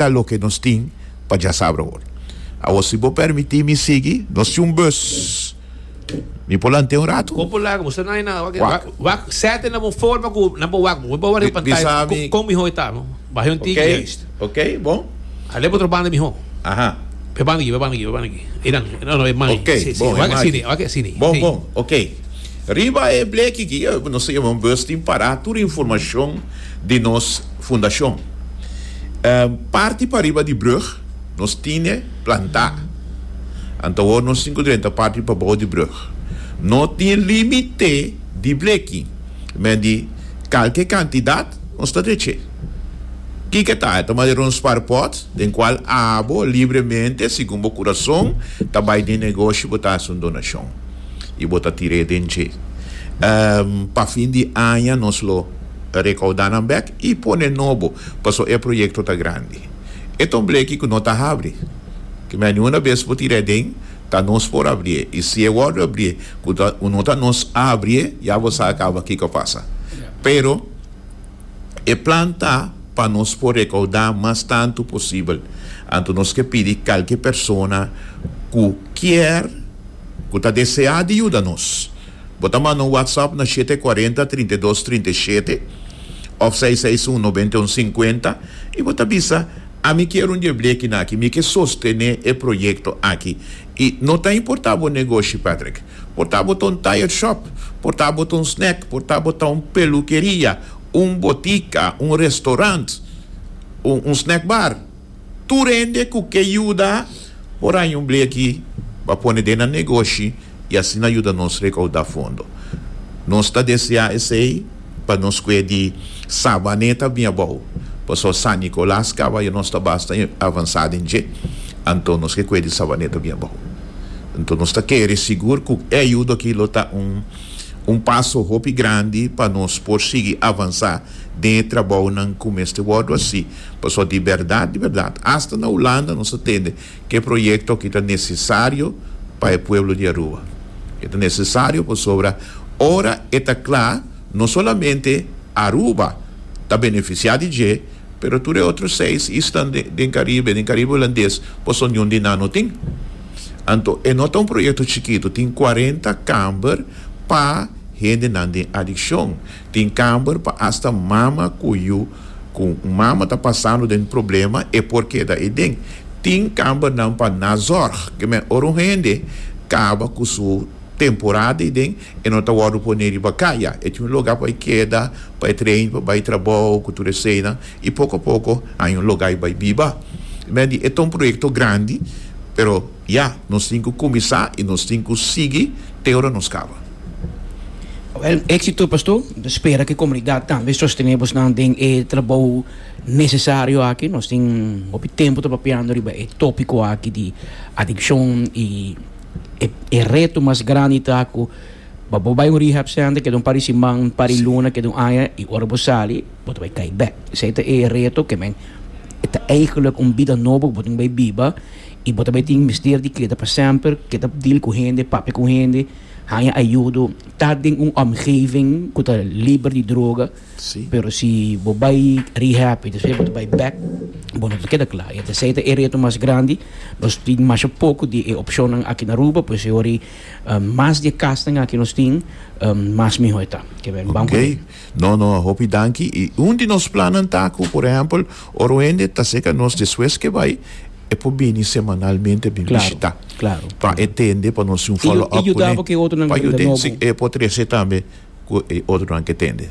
ta loke nos tin pa djasabra awor. Awor si bo permití mi sigui, nos tin un bus. Mi por lant'é un ratu? Bo por laga, bo sa na na wak wak wak sete na bo forma ku nan por wak bo por wak riba pantaya Bisa mi. kon mihó e ta no baha un tiki Ok, juist. ok, bon. Alé pa otro banda mihó. Aha. Pa e banda aki, pa e banda aki, pa e banda aki. Einan, no no e mai. Ok, Si si, bon, e wak mai asini, aki. wak asini. Bon, Si. bon, ok. Riba e bleki aki, nos ta yama un bus tin pará tur informashon di nos fundashon. Parti pariba di brug nos tine plantá. Anto awor nos tin ku drenta parti pabou di brug. No tin límite di bleki, men di kalke kantidat nos ta dreché. Kiko ta? E ta manera un spaarpot den kual abo libremente, segun bo kurason, ta bai den negoshi bo ta hasi un donashon i bo ta tir'é den dje. Pa fin di aña nos lo rekoudá nan bèk i pone nobo, pasobra e proyekto ta grandi. E ta un bleki ku no ta habri. Ke mei ni una bes bo tir'é den, ta nos por abrié. I si e wòrdu abrié ku ta no ta nos a abrié, ya bo sa kaba kiko a pasa. Pero e plan ta pa nos por rekoudá mas tantu posibel. Anto nos ke pidi kalke persona ku kier, ku ta deseá di yuda nos. Bo ta manda un WhatsApp na shete kuarenta, 32, 37 òf seis seis un, 91, 50 i bo ta bisa, Ami kier un dje blekinan aki, mi ke sostené e proyekto aki. I no ta importá bo negoshi, Patrick. Por ta bo ta un tire shop, por ta bo ta un snack, por ta bo ta un pelukeria, un botika, un restaurant, un un snack bar. Tur hende ku ke yuda por haña un bleki pa pone den nan negoshi i asina yuda nos rekoudá fondo. Nos ta deseá esei pa nos kue di Sabaneta bin abou, pasobra San Nicolas kaba ya nos ta basta avansá den dje, anto nos ke kue di Sabaneta bin abou. Anto nos ta kere sigur ku e ayudo aki lo ta un un paso hopi grandi pa nos por sigui avansá den e trabounan ku mester wòrdu hasi, pasobra di bèrdat, di bèrdat, asta na Hulanda nos ta tende ku e proyekto aki ta nesesario pa e pueblo di Aruba. E ta nesesario pasobra ora e ta kla no solamente Aruba ta benefisiá di dje, pero tur e otro seis islan den Caribe, den Caribe Hulandes, pasobra niun di nan no tin. Anto e no ta un proyekto chikitu, tin kuarenta kamber pa hendenan den adikshon, tin kamber pa asta mama ku yu, ku un mama ta pasando den problema e por keda eiden. Tin kambernan pa nazorg, ke men ora un hende kaba ku su temporada eiden e no ta wòrdu pone riba kaya, e tin un lugá pa e keda, pa e train pa bai trabou ku tur eseinan i poko a poko haña un lugá i bai biba. Men di e ta un proyekto grandi, pero ya, nos tin ku kuminsá i nos tin ku sigui te ora nos kaba. Awel, éksito pastor. Mi ta spera ku e komunidat tambe sostené bosnan den e trabou nesesario aki. Nos tin hopi tempu ta papiando riba e tópiko aki di adikshon i e reto mas grandi ta ku pa bo bai un rehab center keda un par di siman, un par di luna, keda un aña i ora bo sali bo ta bai kai bek. Esei ta e reto ke men e ta eigenlijk un bida nobo ku bo tin bai biba i bo ta bai tin mester di keda pa semper, keda deal ku hende, papia ku hende, haña ayudo, ta den un omgeving ku ta liber di droga. Pero si bo bai rehab i despues bo ta bai bek, bo no ta keda kla. I esei ta e reto mas grandi. Nos tin masha poko di e opshonnan aki na Aruba, pues e ora ei mas di e kasnan aki nos tin, mas mihó e ta. Ke ben ban ku Oké. No, no, hopi danki. I un di nos plannan ta ku, por ehèmpel, ora un hende ta serka nos despues ke bai, e por bini semanalmente bin bishitá. Klaro, klaro. Pa e tende, pa nos tin un follow up I yuda bo ku e otronan Pa ku ta yud'é, nobo. si, e por trese tambe ku e otronan ke tende.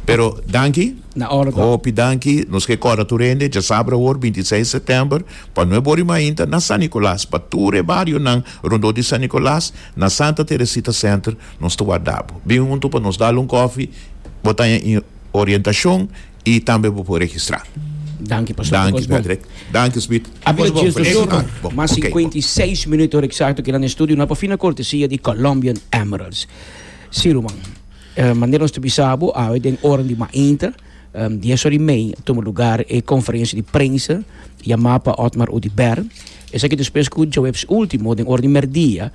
Pero danki. Na orde. Hopi danki. Nos ke kòrda tur hende djasabra awor, 26 sètèmber, pa nuebe ora i mainta na San Nicolas, pa tur e barionan rondó di San Nicolas, na Santa Teresita Center, nos ta warda bo. Bin huntu pa nos dal un kòfi, bo ta haña orientashon i tambe bo por registrá. Danki, Pastor. Danki, Patrick. Danki, Smith. A bira djes dos ora, mas 56 minuut ora eksakto kila na estudio na pa fina kortesia di Colombian Emeralds. Sí, ruman. Manera nos ta bisa bo, awe den ora di mainta, dies ora i mei, a tuma lugar e konferensia di prensa yamá pa Otmar Oduber. Esaki despues ku djaweps último, den ora di mèrdia,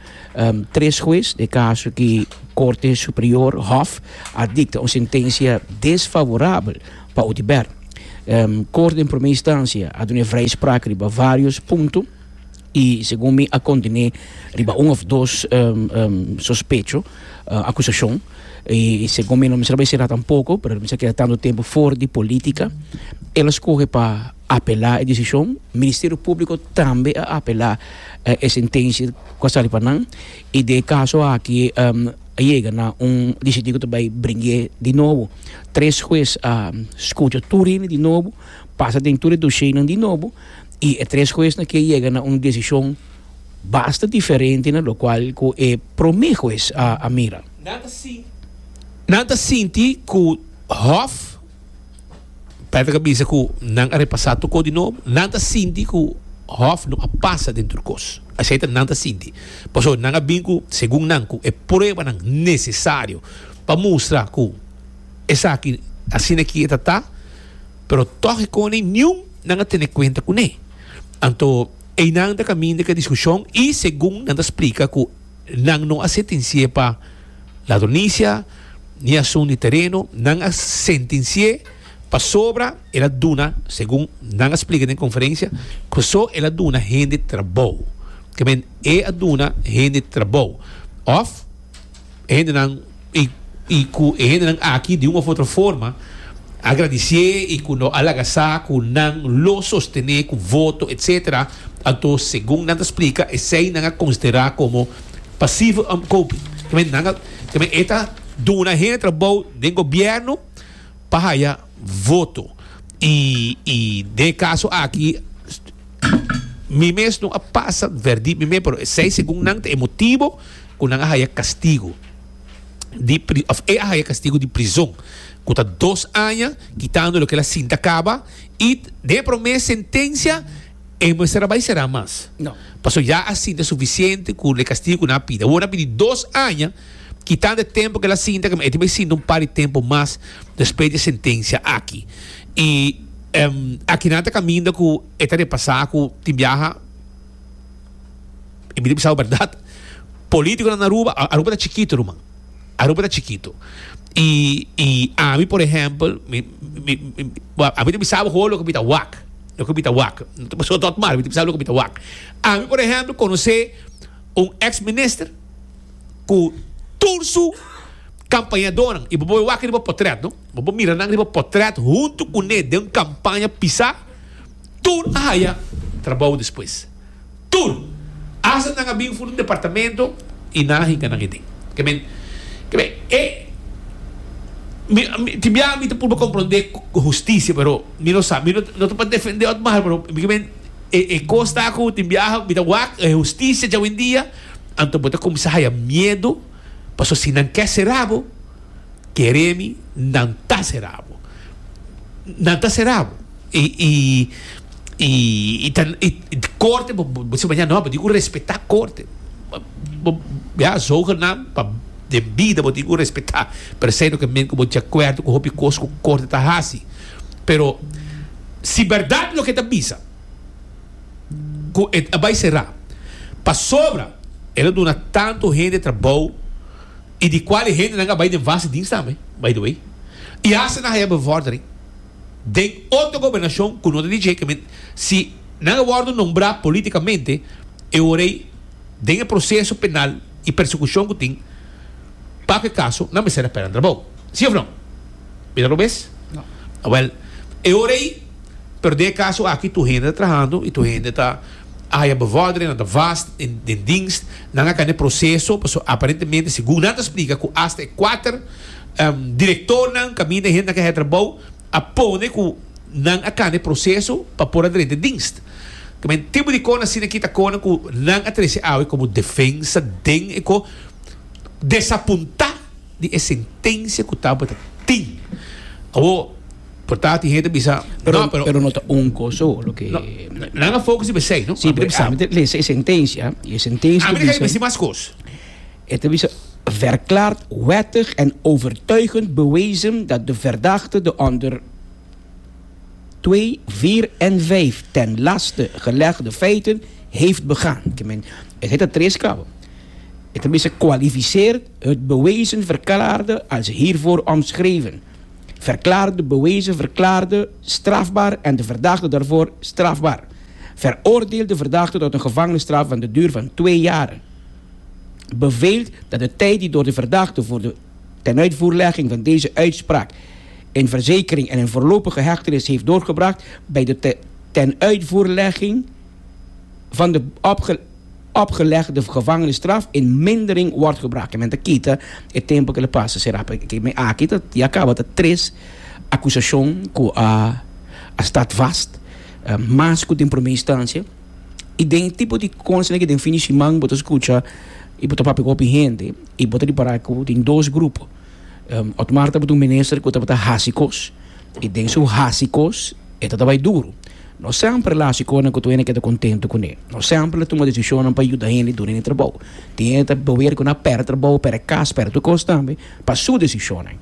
tres hues den e kaso ki Korte Superior, Hof, a dikta un sentensia desfavorabel pa Oduber. Korte den prome instansia a duna e vrijspraak riba varios punto i segun mi a kontené riba un òf dos sospecho, akusashon, i segun mi no mester a bai sera tampoko, pero mester a keda tantu tempu for di politika. El a skohe pa apelá e desishon. Ministerio Públiko tambe a apelá e sentensia ku a sali pa nan i den e kaso aki a yega na un disidí ku ta bai bring'é di nobo. Tres hues a skucha tur hende di nobo, pasa den tur e doshénan di nobo i e tres huesnan ke yega na un desishon basta diferente na lokual ku e promé hues a mira. Nan ta sinti nan ta sinti ku Hof, Patrick a bisa ku nan a repasá tur kos di nobo, nan ta sinti ku Hof no a pasa den tur kos. Esei ta nan ta sinti. Pasobra nan a bin ku, segun nan, ku e pruebanan nesesario pa mustra ku esaki asina ki e ta ta, pero tòg e kone niun nan a tene kuenta kuné. Anto einan ta kaminda ku e diskushon i segun nan ta splika ku nan no a sentensi'é pa ladronisia ni asun di tereno, nan a sentensi'é pasobra el a duna, segun nan a splika den konferensia, ku so el a duna hende trabou. Ke men e a duna hende trabou òf e hendenan i i ku e hendenan aki di un òf otro forma a gradisié i ku no a laga sa ku nan lo sostené ku voto etcetera anto segun nan ta splika esei nan a konsiderá komo pasieve omkoping ke men nan a ke men e ta duna hende trabou den gobièrnu pa haya voto i i den e kaso aki mi mes no a pasa verdict mi mes pero esei segun nan ta e motibo ku nan a haya kastigu di òf e a haya kastigu di prizon ku ta dos aña kitando loke el a sinta kaba i den e promé sentensia e mester a bai será mas pasobra ya a sinta sufisiente ku e kastigu ku nan a pidi. Awor nan a pidi dos aña kitando e tempu ku el a sinta e tin bai sinta un par di tempu mas despues di e sentensia aki i aki nan ta kaminda ku e ta repasá ku tin biaha. E mi ta bisa bo berdad, politiconan na Aruba, Aruba ta chikito ruman, Aruba ta chikito. Y, y ami por ehempel, mi, mi, mi, ami ta bisa bo gewoon loke mi ta wak, loke mi ta wak. No ta pasobra tot mal, mi ta bisa bo loke mi ta wak. Ami por ehempel conoce un ex minister cu tur su campañadornan, y bo por wak riba potret no, bo por mira nan riba potret hunto cune den un campaña pisa, tur a haya trabou despues. Tur! Hasta nan a bin for di un departamento y nan a hinca nan eden. Ke men, ke men, e, mi, mi, tin bia mi ta purba comprende husticia, pero mi no sa, mi no, no ta pa defende Otmar, pero mi ke men, e, e cos ta cu tin biaha mi ta wak e husticia djawendia, anto bo ta cuminsa haya miedo, pasobra si nan ke cera bo, kere mi, nan ta cera bo. Nan ta cera bo. I, i, i, i ta, i, korte, bo, bo, bo si mañana no, bo tin ku respetá korte. Bo, ya, zogenaamd, pa den bida bo tin ku respetá. Pero esei no ke men ku bo di akuerdo ku hopi kos ku korte ta hasi. Pero, si bèrdat loke ta bisa, ku e ta bai será, pasobra el a duna tantu hende trabou, i di kual e hendenan a bai den vaste dienst tambe, by the way, i hasta nan haya bevordering. Den otro gobernashon ku no ta di dje, si nan a wòrdu nombrá polítikamente, e ora ei den e proseso penal i persekushon ku tin pa ku e kaso, nan mester a pèrdè nan trabou. Sí òf no? Mi ta robes? No. Awèl, e ora ei, pero den e kaso aki tur hende ta trahando i tur hende ta a haya bevordering, nan ta vast den dienst, nan a kanda e proseso, pasobra aparentemente segun nan ta splika ku asta e kuater Direktornan kaminda e hendenan ke haya trabou a pone ku nan a kanda e proseso pa por a drenta e dienst. Tamen tipo di kos asina kita konan ku nan a trese awe komo defensa den e ko desapuntá di e sentensia ku tabata tin. Awor por ta tin hende ta bisa Pero, no pero pero no ta un kos so loke no, nan a focus riba esei no? Sí, pero ami ta lesa e sentensia i e sentensia ta bisa. Ami ta bisa mas kos. E ta bisa, Verklaard wettig en overtuigend bewezen dat de verdachte de onder 2, 4 en 5 ten laste gelegde feiten heeft begaan. Ke men, esei ta tres kaba. E ta bisa, Kwalificeert het bewezen verklaarde als hiervoor omschreven. Verklaarde bewezen verklaarde strafbaar en de verdachte daarvoor strafbaar. Veroordeelt de verdachte tot een gevangenisstraf van de duur van twee jaren. Beveelt dat de tijd die door de verdachte voor de tenuitvoerlegging van deze uitspraak in verzekering en in voorlopige hechtenis heeft doorgebracht bij de tenuitvoerlegging van de opgelegde gevangenisstraf in mindering wordt gebracht. Men ta kita e tempo ku el a pasa será ke men aki ta ya kaba ta tres akusashon ku a a staat vast mas ku den prome instansia i den e tipo di kosnan aki den fin di siman bo ta skucha i bo ta papia ku hopi hende i bo ta ripará ku tin dos grupo. Otmar tabata un minister ku tabata hasi kos i den su hasi kos e ta bai duru. No semper el a hasi kosnan ku tur hende keda kontentu kuné. No semper el a tuma desishonnan pa yuda hende duna hende trabou. Tin hende ta beweer ku nan a pèrdè trabou, pèrdè kas, pèrdè tur kos tambe pa su desishonnan.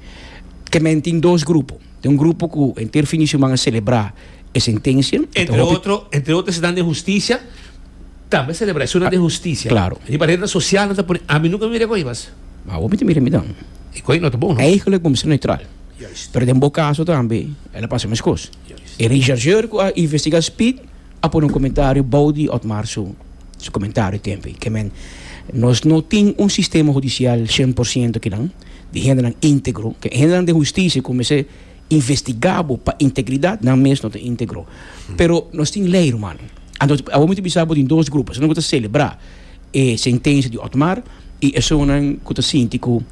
Ke men tin dos grupo. Tin un grupo ku henter fin di siman a selebrá e sentensia. Entre otro, entre otro esnan den hustisia tambe a selebrá. Esunnan den hustisia. Klaro. Riba rednan sosial nan ta pone, ami nunka mira ko'i mas. Ma awor mi ta mira mi dan. E ko'i no ta bon, no? Eigenlijk bo mester neutral. Juist. Pero den bo kaso tambe el a pasa meskos. Juist. E rechercheur ku a investiga Speed a pone un komentario bou di Otmar su su komentario tempo ei. Ke men nos no tin un sistema hudisial shen por siento kinan di hendenan íntegro. Ke hendenan den hustisia ku mester investiga bo pa integridat nan mes no ta íntegro. Pero nos tin lei ruman. Anto awor mi ta bisa bo tin dos grupo. Esun ku ta selebrá e sentensia di Otmar i esunnan ku ta sinti ku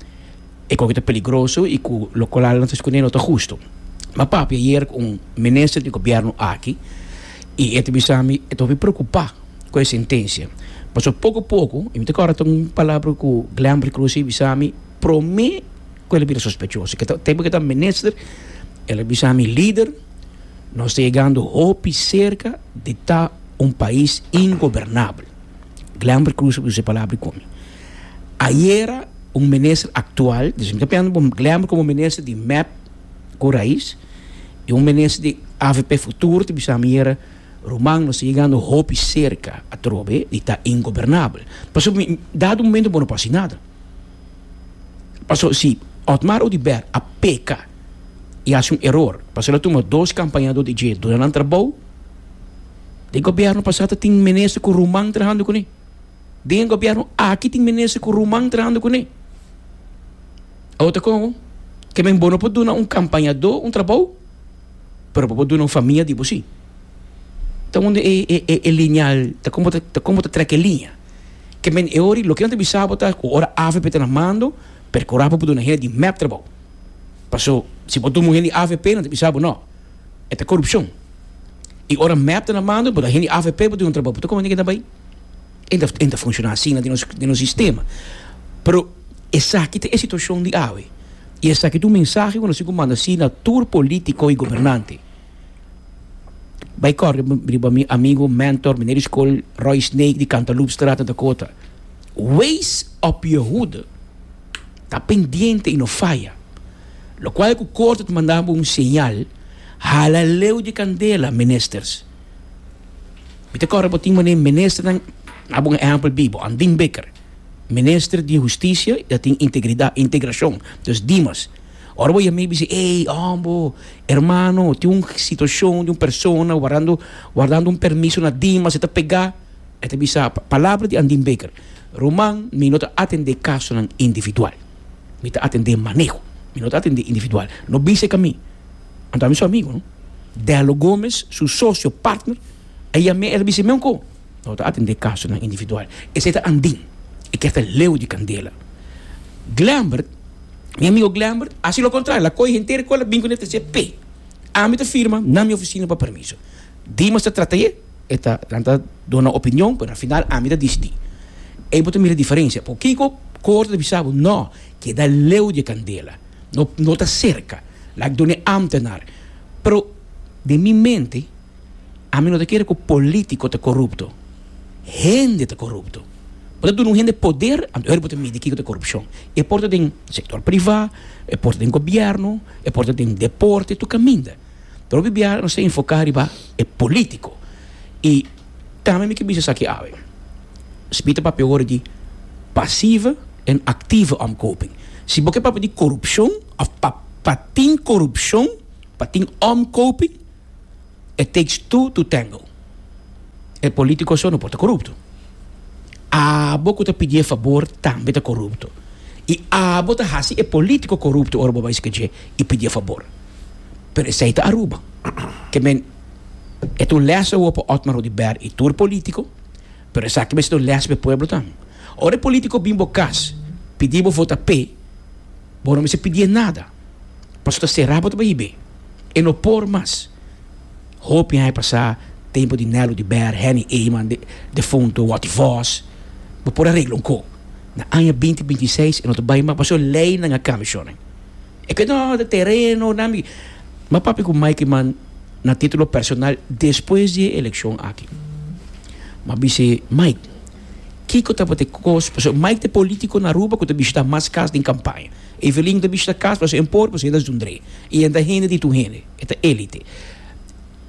e koki ta peligroso i ku lokual nan ta skondé no ta hustu. Mi a papia ayer ku un minister di gobièrnu aki i e ta bisa mi e ta hopi preokupá ku e sentensia. Pasobra poko poko, i mi ta kòrda ta un palabra ku Glenbert Croes a bisa mi promé ku el a bira sospechoso, ke ta tempu ku e ta minister, el a bisa mi, Lider, nos ta yegando hopi serka di ta un pais ingobernabel. Glenbert Croes a usa e palabra ku mi. Ayera un minister aktual, dus mi ta piensa bo Glenbert komo minister di mep ku Raiz i un minister di avp Futuro ta bisa mi ayera, Ruman nos ta yegando hopi serka atrobe di ta ingobernabel. Pasobra mi dado momento bo no por hasi nada. Pasobra si Otmar Oduber a peka i hasi un eror pasobra el a tuma dos kampañador di dje duna nan trabou, Den gobierno pasá ta tin minister ku ruman trahando kuné. Den e gobierno aki tin minister ku ruman trahando kuné. Awor ta kon? Ke men bo no por duna un kampañadó un trabou, pero bo por duna un famia di bo sí. Ta unda e e e e liñal ta kon bo ta ta kon bo ta trek e liña. Ke men e ora loke nan ta bisa bo ta ku ora avp ta na mando, perkurá pa bo duna hende di mep trabou. Paso si bo duna un hende di avp nan ta bisa bo no, e ta korupshon. I ora mep ta na mando, bo ta hende avp bo duna un trabou, bo ta komo hende ta bai. E ta e ta funciona asina den nos den nos sistema. Pero esaki ta e situacion di awe. I esaki ta un mensahe ku nos tin ku manda si na tur politico i gobernante. Bai kòrda riba mi amigo, mentor, meneer di skol Roy Snake di Cantaloupestraat na Dakota. Wees op je hoede. Ta pendiente i no faya. Lokual ku korte ta manda bo un señal. Hala leu di kandela, ministers. Mi ta kòrda bo tin manera ministernan, na bo un ehèmpel bibo, Andin Bikker, minister di hustisia, i ta tin integridat, integrashon, dus Dimas. Ora bo yam'é bisa, ey, hombo, hermano, tin un situashon di un persona wardando, wardando un permiso na Dimas, e ta pegá. E ta bisa, palabra di Andin Bikker, Ruman, mi no ta atendé kasonan individual. Mi ta atendé maneho. Mi no ta atendé individual. No bisa e ka mi. Anto ami su amigo, no? Dello Gomez, su socio, partner, a yam'é, el a bisa mi unko, No ta atendé kasonan individual. Esei ta Andin. E kier ta leu di kandela. Glembert, mi amigo Glembert, a hasi lo kontrario. El a kohe henter e kola bin kuné ta dje p'e. Ami ta firma na mi ofisina pa permiso. Dimas ta trata e, e ta, nan ta duna opinion, pero na final ami ta disidí. Ei bo ta mira diferensia. Por kiko korte ta bisa bo, no, keda leu di e kandela. No, no ta serka. Laat duna e ambtenaar. Pero den mi mente, ami no ta kere ku politico ta korupto. Hende ta korupto. Bo ta duna un hende poder, anto ora bo ta midi kiko ta korupshon. E por ta den sektor privá, e por ta den gobièrnu, e por ta den deporte, tur kaminda. Pero hopi biaha nos ta enfoká riba e politico. I tambe mi ke bisa esaki awe. Smit ta papia ora di pasieve en actieve omkoping. Si bo ke papia di korupshon òf pa. Pa tin korupshon, pa tin omkoping, it takes two to tango. E politico so no por ta corupto. Abo cu ta pidi e fabor tambe ta corupto. Y abo ta haci e politico corupto ora bo bay skedje y pidi e fabor. Pero esey ta Aruba. Ke men, e ta un les awo pa Otmar Oduber y tur politico, pero esaki mester ta un les pa e pueblo tambe. Ora e politico bin bo cas pidi bo vota p'e, bo no mester pidié nada. Pasobra ta sera bo ta bay hib'é. E no por mas. Hopi aña pasá, tempu di Nelo di Ber, Henny Eman, de defunto Watty Vos, bo por a regla un ko. Na aña binti binti i seis e no ta bai mas pasobra leinan a kambia shornan. E ke no, ta tereno, nan mi. M'a papia ku Mike Eman na titulo personal despues di e elekshon aki. M'a bis'é, Mike, kiko tabata e kos? Pasobra Mike ta e politiko na Aruba ku ta bishitá mas kas den kampaña. Evelyn ta bishita kas pasobra e por, pasobra e ta zundré. I e ta hende di tur hende. E ta elite.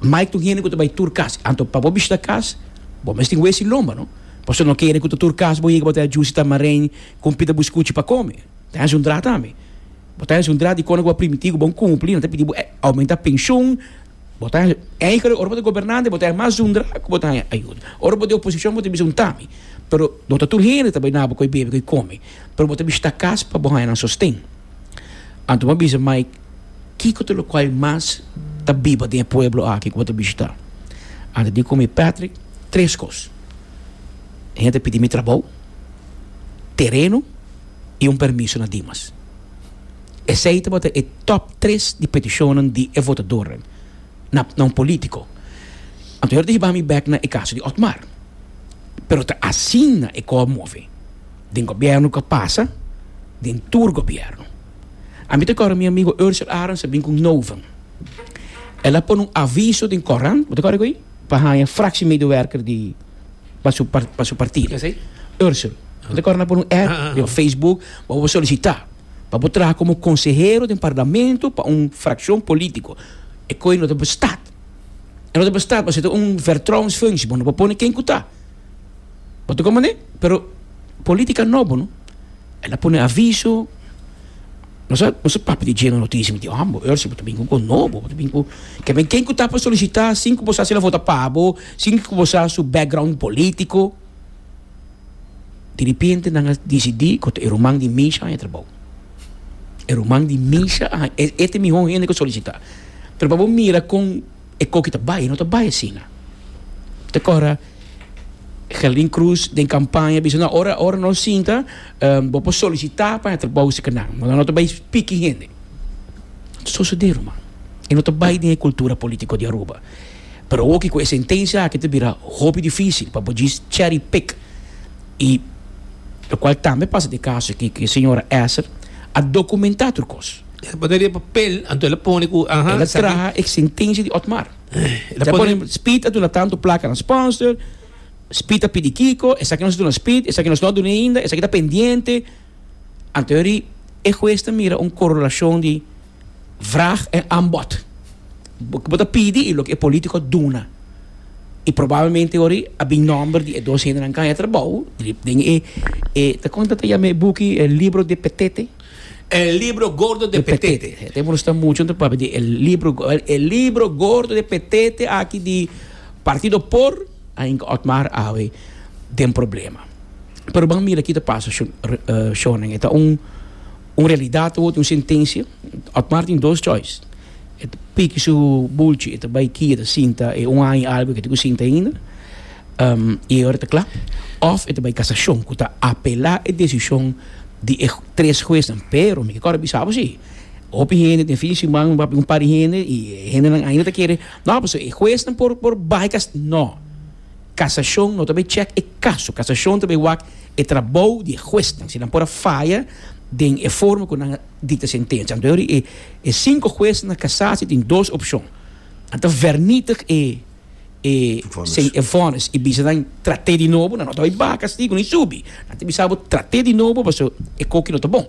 Mike ta un hende ku ta bai tur kas. Anto pa bo bishita kas, bo mes tin wesi lomba, no? Pasobra no kere ku ta tur kas bo yega bo ta jusi tamarein ku un pita buskuchi pa kome. Ta hasi un dra tambe. Bo ta hasi un dra di kona ku bo a primiti ku bo a kumpli, nan ta pidi bo aumenta penshun. Bo ta hasi, eigenlijk ora bo ta gobernante bo ta hasi mas zundra ku bo ta haña ayuda. Ora bo ta di oposishon bo ta bisa un tami. Pero no ta tur hende ta bai na bo ku e bebe ku e kome. Pero bo ta bishita kas pa bo haña nan sosten. Anto bo a bisa Mike, kiko ta lokual mas ta biba den e pueblo aki ku bo ta bishita? Anto di ku mi, Patrick, tres kos. Hende ta pidi mi trabou, tereno i un permiso na Dimas. Esei tabata e top tres di petishonnan di e votadornan na na un politico. Anto her ta hiba mi bek na e caso di Otmar. Pero ta asina e ko a move den gobierno ku a pasa, den tur gobierno. Ami ta kòrda mi amigo Ursel Arends a bin ku Novum. El a pone un aviso den korant, bo ta kòrda ku? Pa haña fractiemedewerker di pa su pa su partido. Ursel, bo ta kòrda nan a pone un ad riba Facebook pa bo solisitá pa bo traha komo konsehero den parlamento pa un frakshon polítiko. E koe no ta bestaat. E no ta bestaat pasobra e ta un vertrouwensfunctie. Bo no por pone ken ku ta. Bo ta komprendé? Pero polítika nobo no. El a pone aviso. Nos a nos a papia di dje na notisia. Mi di, Hombo, Ursel, bo ta bin ku un nobo. Bo ta bin ku. Ke men ken ku ta pa solisitá sin ku bo sa si el a vota pa bo, sin ku bo sa su background polítiko. Diripiente nan a disidí ku ta e ruman di Misha haña trabou. E ruman di Misha a haña, e e ta e mihó hende ku solisitá. Pero pa bo mira kon e koki ta bai, e no ta bai asina. Ta kòrda Gerlin Cruz den kampaña bisa, no, ora ora nos sinta, bo por solisitá pa haña trabou si kinan. Nan no ta bai piki hende. Ta sosodé, ruman. E no ta bai den e kultura polítiko di Aruba. Pero oki ku e sentensia aki ta bira hopi difisil pa bo djis cherry pick i lokual tambe pasa den e kaso aki ku e señora Esser a dokumentá tur kos. El a pone riba papel anto el a pone ku aha El a traha e sentensia di Otmar. El a pone Speed a duna tantu plaka na sponsor, Speed a pidi kiko, esaki nos a duna Speed, esaki nos no a duna ainda, esaki ta pendiente. Anto e hues ta mira un korelashon di Vraag en aanbod. Loke bo ta pidi y loke e politico a duna. Y probablemente ori a bin nomber di e dos hendenan kan e trabou den e e ta kon ta ta yama e buki el libro de Petete? El libro gordo de Petete. E tempo nos ta mucho nos ta papia di el libro el libro gordo de Petete aki di Partido por a hinka Otmar awe den problema. Pero ban mira ki ta pasa shownan e ta un. Un realidat awor tin un sentensia. Otmar tin dos choice. E ta piki su bulchi, e ta bai kia, e ta sinta e un aña i algu ke tin ku sinta ainda, i e ora ta kla. Òf e ta bai kasashon ku ta apelá e desishon di e tres huesnan. Pero mi ke kòrda bisa bo si, hopi hende den fin di siman papia un par di hende i e hendenan ainda ta kere, no pasobra e huesnan por por bai kas. No, kasashon no ta bai chèk e kaso, kasashon ta bai wak. E trabou di e huesnan, si nan por a faya den e forma ku nan a dikta sentensia. Anto e e sinku huesnan na kasasi tin dos opshon. Nan ta vernietig e e e vònis i bisa nan trat'é di nobo, nan no ta bai baha kastigu ni subi. Nan ta bisa bo trat'é di nobo pasobra e koki no ta bon.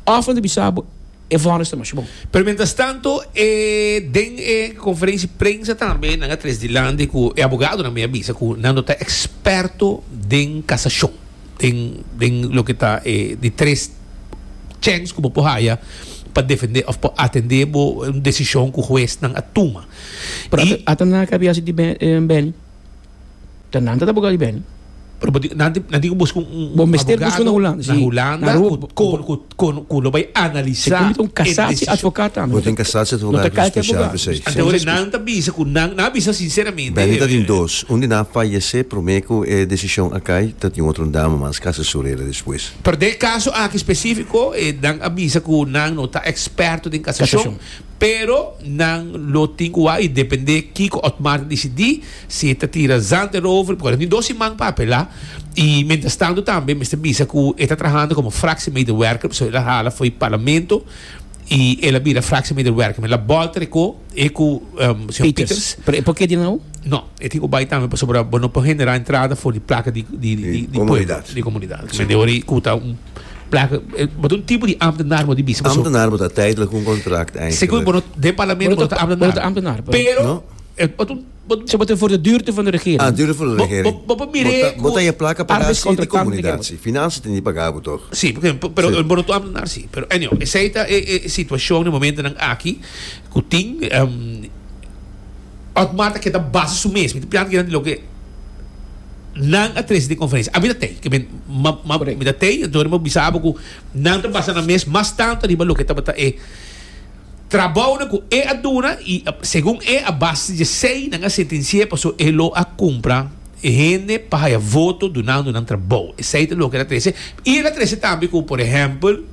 Òf nan ta bisa bo e vònis ta masha bon. Pero mientras tanto e den e conferencia di prensa tambe nan a tres dilanti cu e abogadonan mi a bisa cu nan no ta experto den casacion, den den loke ta e di tres chens cu bo por haya pa defende of pa atende bo un decision cu huesnan a tuma. Pero ata nan a cabia si di Benny. Ta nan ta abogado di Benny. Pero bo nan nan tin ku buska un Bo mester buska na Hulanda, na Hulanda ku ku ku ku lo bai analisa Segun mi ta un casatie advocaat tambe. Bo tin casatie advocaat ku special p'esei. Anto ora nan ta bisa ku nan nan a bisa sinceramente. Benny ta tin dos. Un di nan a fayece prome ku e decision a kai, ta tin otro un dama mas casa su reda despues. Pero den e caso aki specifico nan a bisa ku nan no ta experto den casacion. Pero nan lo tin cu wak y depende kico Otmar ta dicidi, si e ta tira zand erover, porque nan tin dos siman pa apela, y mientras tanto tambe mester bisa cu e ta trahando como fractiemedewerker, pasobra el a hala fo'i parlamento y el a bira fractiemedewerker. El a bolter e co, e cu señor Pieters. Pero e por keda nou? No, e tin cu bay tambe pasobra bo no por genera entrada for di placa di di di pueblo, di comunidad. Mende ora cu ta un. Plaka, bo ta un tipo di ambtenaar bo di bisa paso. Ambtenaar bo ta tijdelijk un contract eigenlijk. Segun bo no den parlamento bo no ta ambtenaar. Bo no ta ambtenaar. Pero no. Bo ta un Ze bo ta voor de duurte van de regering. Ah, duurte van de regering. Bo bo mire Bo ta je plaka paga si di comunidad si. Finansa tin di paga bo toch. Si, pero bo no ta ambtenaar si. Pero anyhow, esey ta e situacion den momentonan aki cu tin Otmar ta keda basa su mes. Mi ta piensa kinan di loke nan a trese den conferencia. Ami ta tey. Ke men, ma, ma, mi ta tey, anto mi bisa abo ku nan ta basa nan mes mas tanto riba loke tabata e trabounan ku e a duna i segun e a base di esey nan a sentenci'e paso e lo a cumpra e hende pa haya voto dunando nan trabou. Esey ta loke el a trese. I el a trese tambe ku, por ehempel,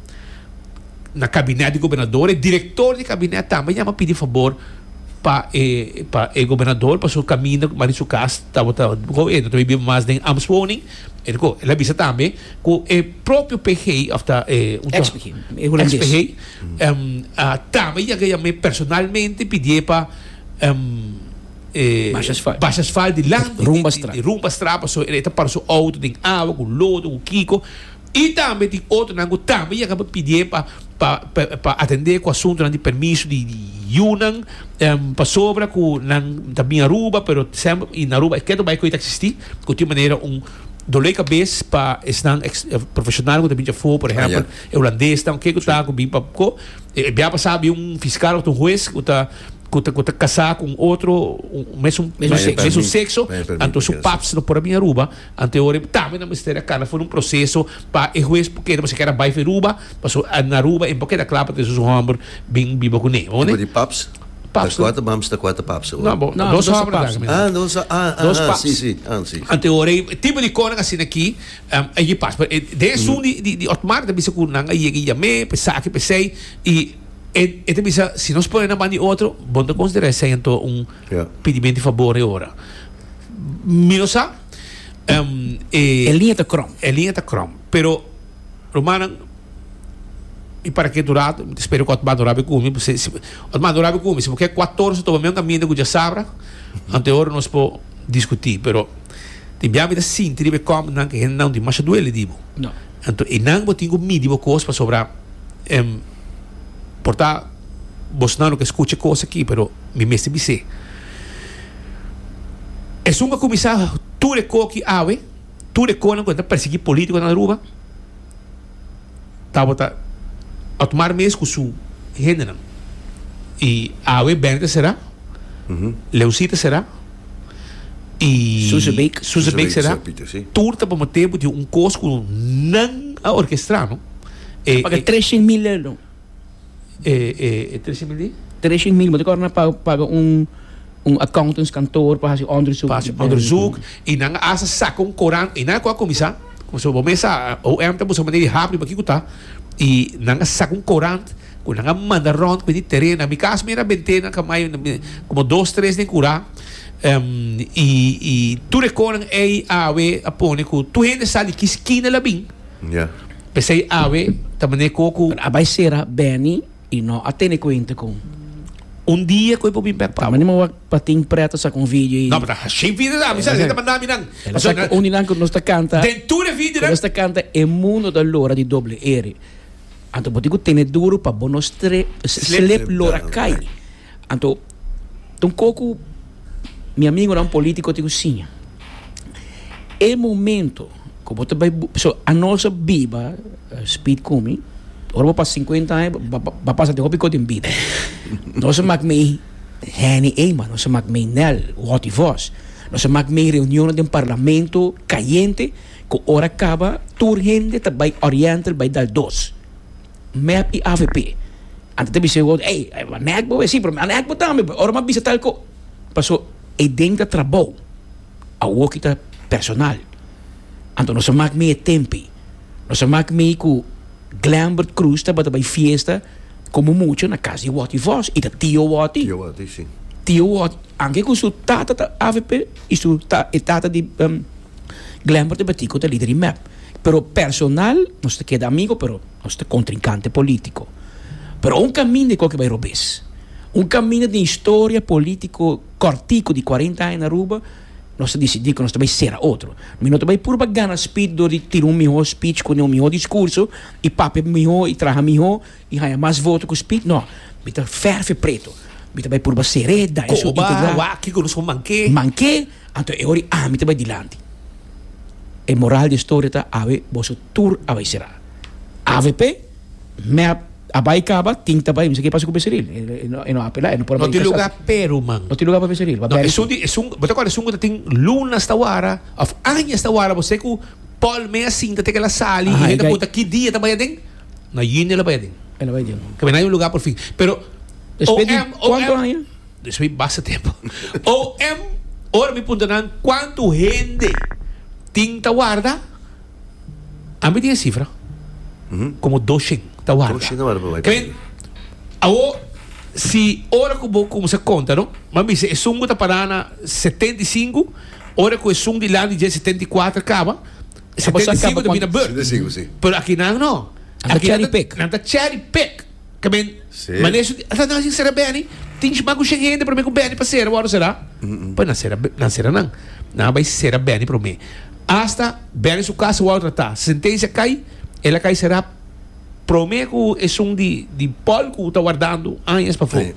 na kabinet di gobernador, e direktor di kabinet tambe yama pidi fabor pa e pa e gobernador pasobra kaminda ku mari su kas tabata go e no ta biba mas den ambtswoning e ko el a bisa tambe ku e propio PG of ta e Ex PG e hulandes ex PG a tambe yega yam'é personalmente pidié pa e Basha asfalt. basha asfalt dilanti Rumbastraat. di Rumbastraat pasobra e ta para su auto den awa ku lodo ku kiko. I tambe tin otronan ku tambe yega pa pidié pa pa pa atendé ku asuntunan di permiso di yunan pasobra ku nan ta bin Aruba pero semper i na Aruba e ketu bai ku e ta eksistí ku tin manera un dolé kabes pa esnan profeshonal ku ta bin djafó por ehèmpel e hulandesnan ke ku ta ku bin pa ko e bia pasá bin un fiskal òf un hues ku ta ku ta ku ta kasá ku un otro un mesun mesun sekso anto su paps no por a bin Aruba. Ante ora tambe nan mester a cana for un proceso pa e huez por keda, pasobra kier a bay for Aruba, pasobra na Aruba e por keda cla pa trece su homber bin biba cune. Tipo di paps? Paps. Ta cuater mams ta cuater paps awor. No, bo, No, dos dos homber paps. ta. Ah, dos, ah, ah, Dos ah, paps. si, si, ah, si. Ante ora e tipo di conan asina aki, a yega pas. Pero den esun di, di, di Otmar ta bisa cu nan a yega y yam'é, pa esaki, pa esey, y e, e ta bisa, si nos pone nan banda di otro, bo no ta considera esey anto un Ja. pidimento di fabor e ora. Mi no sa. E liña ta krom. E liña ta krom. Pero, rumannan, mi para ke dura, mi ta spera ku Otmar no rabia ku mi. Otmar no rabia ku mi. Si bo ke kuatorse tuma mi un kaminda ku djasabra, anto e ora nos por diskutí. Pero, tin bia mi ta sinti riba e kòmnan ku e hendenan tin masha duele di bo. No. Anto einan bo tin ku midi bo kos pasobra por ta bosnan no ke skucha e kos aki, pero mi mester bis'é. Esun ku a kuminsá tur e koki awe, tur e konan ku ta persiguí polítikonan na Aruba, tabata Otmar mes ku su hendenan. I awe Benny ta será, Leoncy ta será, i Suzebeek. Suzebeek será. Tur ta pa motibu di un kos ku nan a orkestrá, no? A paga treshen mil euro. E 300 mil di? 300 mil, bo ta kòrda nan paga un un accountantskantoor pa hasi onderzoek. Pa hasi onderzoek i nan a hasta saka un korant i nan a kuminsá, pasobra bo mes sa OM ta buska manera di habri pa kiko ta i nan a saka un korant ku nan a manda rònt ku e di tereno. Na mi kas mi era bent'é nan kamai komo dos tres den kurá i i tur e konan ei awe a pone ku tur hende sa di ki skina el a bin. P'esei awe ta manera ku ku. Pero a bai sera Benny i no a tene kuenta ku. Un dia ku e por bin bek pa bo. Ta manera wak pa tin pret a saka un video i. No, pero ta hashí video ta. Mi sa ta manda mi nan. El a saka un di nan ku nos ta kanta. Den tur e video nan. Ku nos ta kanta e mundo ta lora di doble ere. Anto bo tin ku tene duru pa bo no slip lora kai. Anto ta un kos ku mi amigonan politico tin ku siña. E momento ku bo ta bai, pasobra anos a biba, Speed ku mi. Ora bo pasa 50 aña, bo a pasa den hopi kos den bida. Nos a mak mei Henny Eman, nos a mak mei Nel, Watty Vos. Nos a mak mei reunionnan den parlamento kayente ku ora kaba tur hende ta bai Oriental bai dal dos. Mep i avp. Anto ta bisa e otro, ey, nek bo, si, pero nek bo tambe, ora mi a bisa tal ko. Paso e den ta trabou, awoki ta personal. Anto nos a mak mei e tempi. Nos a mak mei ku Glenbert Croes tabata bai fiesta komo mucha na kas di Watty Vos i ta tio Watty. Tio Watty, si. Tio Watty, anke ku su tata ta avp i su ta e tata di Glenbert e Betico ta lider di mep. Pero personal nos ta keda amigo pero nos ta kontrinkante politiko. Pero un kaminda e koke bai robes. Un kaminda den historia politiko kòrtiku di kuarenta aña na Aruba. Nos ta disidí ku nos ta bai sera otro. Mi no ta bai puru pa gana speech dor di tira un mihó speech ku un mihó diskurso i papia mihó i traha mihó i haña mas voto ku speech. No, mi ta fèrf'e pretu. Mi ta bai purba ser'é, da e su Koba, integridad. wak kiko nos por manké. Manké, anto e ora ami ta bai dilanti. E moral di e storia ta awe boso tur a bai será. Avp, mep. A bai kaba, tin ta bai, mi sa ke pasa ku Becerril. E no, e no apelá, e no por a No bai tin kasá. lugar pero man. No tin lugar pa Becerril, pa No, Berry esun sí. di, esun, bo ta kòrda esun ku ta tin lunas ta wara, òf añas ta wara, bo se ku Paul mei a sinta te ke el a sali, Aha, i e hende a gai. punta ki dia e ta bai aden? Na yüni el a bai aden. El a bai aden. Ke men hay un lugar por fin. Pero, Despues di OM, kuantu OM, aña? Despues di basta tempu. OM, ora mi punta nan kuantu hende tin ta warda, Ami tin e sifra como doshen ta warda. Doshen ta warda pa bai Kren, awo si ora ku bo kumsa konta no, bo a bisa esun ku ta para na 75, ora ku esun di lado di dje 74 kaba, 75 ta bira beurt. 75, si. Pero aki nan no. Nan ta Aki cherry pick. Nan ta cherry pick. Ke men, Si. manera su di, ata nan sin sera Benny, tin shima ku shen hende prome ku Benny pa sera, wòrdu sera? Pues nan sera, nan sera nan. Nan a bai sera Benny prome. Asta Benny su kas wòrdu tratá. Sentensia kai, el a kai será prome ku esun di di Paul ku ta wardando añas pafó. Sí.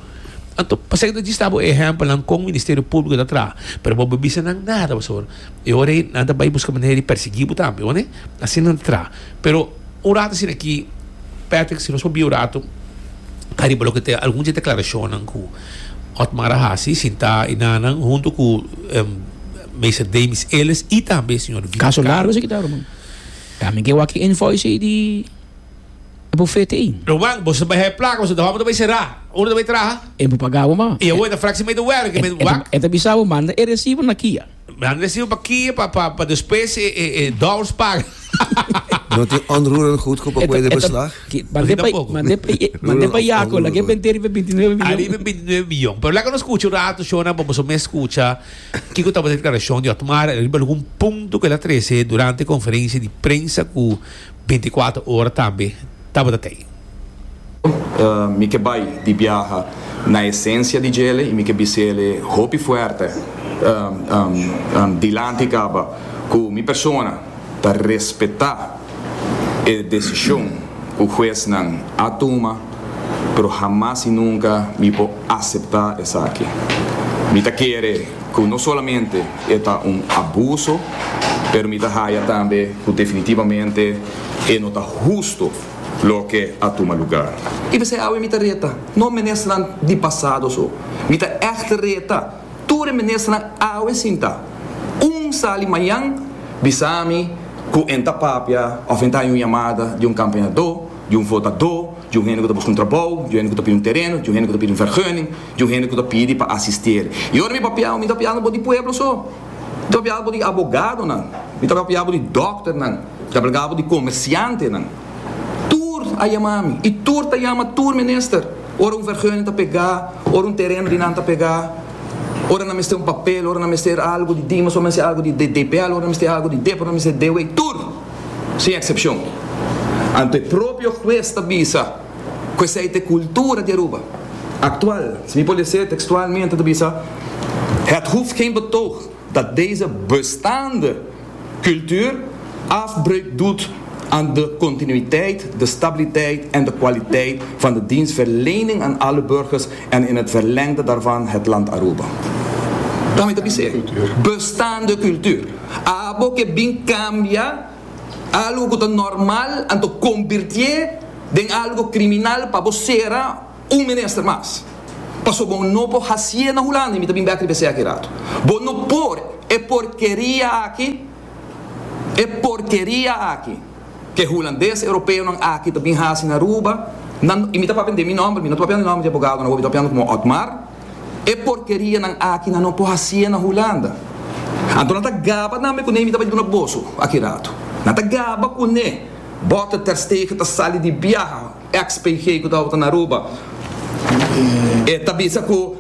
Anto, pasei ta djis ta bo ehèmpelnan kon Ministerio Públiko ta traha. Pero bo bisa nan nada pasobra e ora ei nan ta bai buska manera di persiguí bo tambe, wòrdu? Asina nan ta traha. Pero un rato asina aki, Patrick, si nos por bia un rato ariba loke ta algun di e deklarashonnan ku Otmar a hasi sintá i nanan huntu ku Meester Demis Ellis i tambe señor Vito Kaso Caro. largo esaki ta, ruman. Tambe ke wak e invoice ei di e bufete ei. Ruman, boso ta bai haya plaka, boso ta hòmber ta bai será. Unda ta bai traha? E por paga bo ma. I awor e ta fractie mee te werk. Wak. E ta bisa bo manda e resibo na kia. Manda resibo pa kia pa pa pa despues e e e dòlars paga. No tin onroerend goed ku pa pone den beslag? Mande pa mande pa mande pa Jaco, laga e bente riba 29 miyon. Ariba 29 miyon. Pero laga nos skucha un rato shona pa boso mes skucha kiko tabata e deklarashon di Otmar riba algun punto ku el a trese durante e konferensia di prensa ku 24 ora tambe tabata tei. Mi ke bai di biaha na esensia di djele i mi ke bis'ele hopi fuerte dilanti kaba ku mi persona ta respetá e desishon ku huesnan a tuma, pero hamas i nunka mi por aseptá esaki. Mi ta kere ku no solamente e ta un abuso, pero mi ta haya tambe ku definitivamente e no ta husto. Loke a tuma lugar. I p'esei awe mi ta reta, no ministernan di pasado so, mi ta ègt reta tur e ministernan awe sinta. Un sali mañan bisa mi ku en ta papia òf en ta haña un yamada di un kampañadó, di un votadó, di un hende ku ta buska un trabou, di un hende ku ta pidi un tereno, di un hende ku ta pidi un vergunning, di un hende ku ta pidi pa asistier. I ora mi papia, mi ta papiando bo di pueblo so, mi ta papiando bo di abogadonan, mi ta papiando bo di dòkternan. Ta brgabo di comerciantenan. Tur a yama mi y tur ta yama tur minister. Ora un vergunning ta pega, ora un tereno di nan ta pega, ora nan mester un papel, ora nan mester algo di Dimas, ora nan mester algo di DPL, ora nan mester algo di dep, ora nan mester DW, tur! Sin excepcion. Anto e propio hues ta bisa cu esey ta e cultura di Aruba actual. Si mi por lese textualmente ta bisa, Het hoeft geen betoog dat deze bestaande Cultuur afbreuk doet aan de continuïteit, de stabiliteit en de kwaliteit van de dienstverlening aan alle burgers en in het verlengde daarvan het land Aruba. Ta mi ta bis'é, bestaande cultuur. Abo ke bin kambia algo ku ta normal anto kombirtié. den algo kriminal pa bo sera un minister mas. Paso bo no por hasié na Hulanda, i mi ta bin bek riba esei aki rato. Bo no por e porkeria aki, e porkeria aki ke hulandes europeonan aki ta bin hasi na Aruba, nan, i mi ta papia den mi nomber, mi no ta papiando den nomber di abogadonan awor, mi ta papiando komo Otmar, e porkerianan aki nan no por hasié na Hulanda. Anto nan ta gaba tambe kuné, mi ta bai duna boso aki rato. Nan ta gaba kuné, Botter ter Stegen ta sali di biaha. Ex PG cu tabata na Aruba e ta bisa cu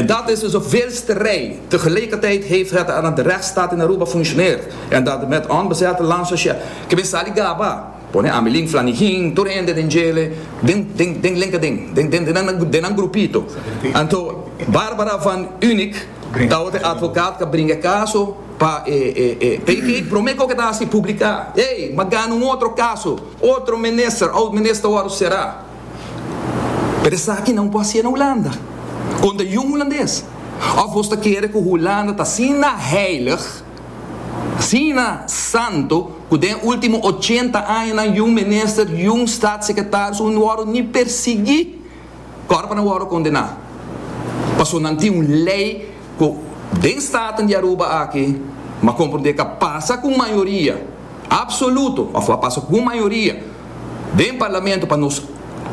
dat is de zoveelste rij. Tegelijkertijd heeft het aan de rechtsstaat in Aruba functioneert en dat met onbezette landsocië ke bin sali gaba pone Amelin Flanigin tur hende den djele den den den linker den den den den den nan grupito. Anto Barbara van Unik tabata e advocaat cu a bringa e caso pa e e e PG prome cu ke ta haci publica ey m'a gana un otro caso. Otro minister, oud minister wòrdu será. Pero esaki nan por hasié na Hulanda. Konta yun hulandes. Òf bos ta kere ku Hulanda ta asina heilig, asina santu, ku den e último ochenta añanan yun minister, yun staatssecretaris un wòrdu ni persiguí kòrda pa nan wòrdu kondená. Pasobra nan tin un lei ku den Staten di Aruba aki, m'a komprondé ku a pasa ku mayoria. Absoluto, of a pasa cu mayoria den Parlamento pa nos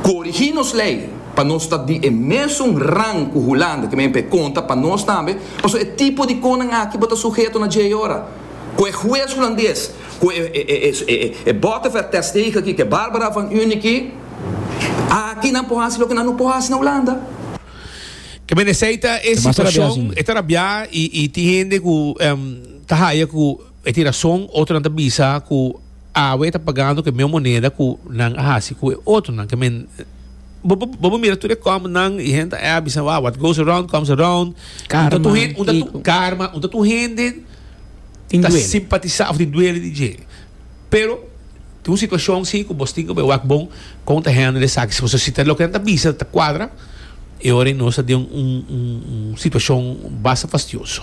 corigi nos ley, pa nos ta di e mesun rang cu Hulanda, ke men pe conta pa nos tambe, pasobra e tipo di conan aki bo ta suheto na dje ora cu e huez Hulandes, cu e Botterver ter Stegen aki, cu e Barbara van Unie aki, nan por haci loke nan no por haci na Hulanda. Ke men esey ta e situacion, e ta rabia y tin hende cu ta haya cu. E tin rason, otronan ta bisa ku awe ta pagando ku e meo moneda ku nan a hasi ku e otronan. Ke men, bo bo bo mira tur e kòmnan i hende ta a bisa wow, what goes around comes around. Karma, Un ta tur hende, un ta tur kiko. karma, un ta tur hende Tin ta duele. simpatisá òf tin duele di dje. Pero tin un situashon si ku bos tin ku bai wak bon kon ta handle esaki. Si boso si ta loke nan ta bisa ta kuadra, e ora ei nos ta den un un situashon basta fastioso.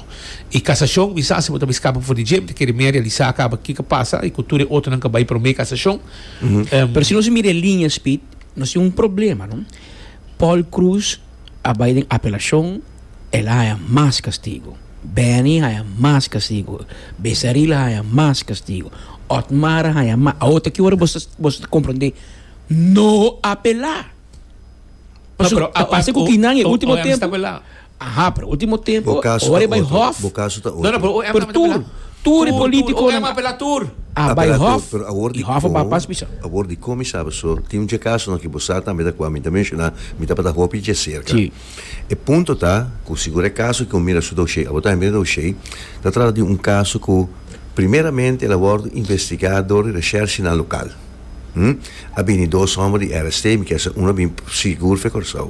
I kasashon mi sa si bo ta bai skapa for di dje, mi ta kere mi a realisá kaba kiko a pasa i ku tur e otronan ku a bai promé kasashon. Pero si nos mira e liña Speed, nos tin un problema no. Paul Croes a bai den apelashon, el a haña mas kastigu. Benny haña mas kastigu, Besaril haña mas kastigu, Otmar haña mas. Awor ta ki ora bo ta bo ta komprondé no apelá. Pasobra a pasa ku kinan e último tempu. Aha, pero último tempu Bo kaso ora ta e bai otro. hof. Bo kaso ta No, no, otro. pero OM Pero tambe ta tur, apelá. tur e Tur, tur, polítikonan OM apelá tur. a bai Apelá tur, hof pero awor i di hof a kon, pas bisa. awor di kon mi sa paso tin un dje kasonan ku bo sa tambe ta kua mi ta menshoná mi tabata hopi dje serka. Sí. E punto ta ku sigur e kaso ku mira su doshé, abo tambe mira doshé, ta trata di un kaso ku primeramente el a wòrdu investigá dor di reshèrshinan lokal. A bini dos hòmber di RST, mi kier sa unu a bini sigur for Kòrsou.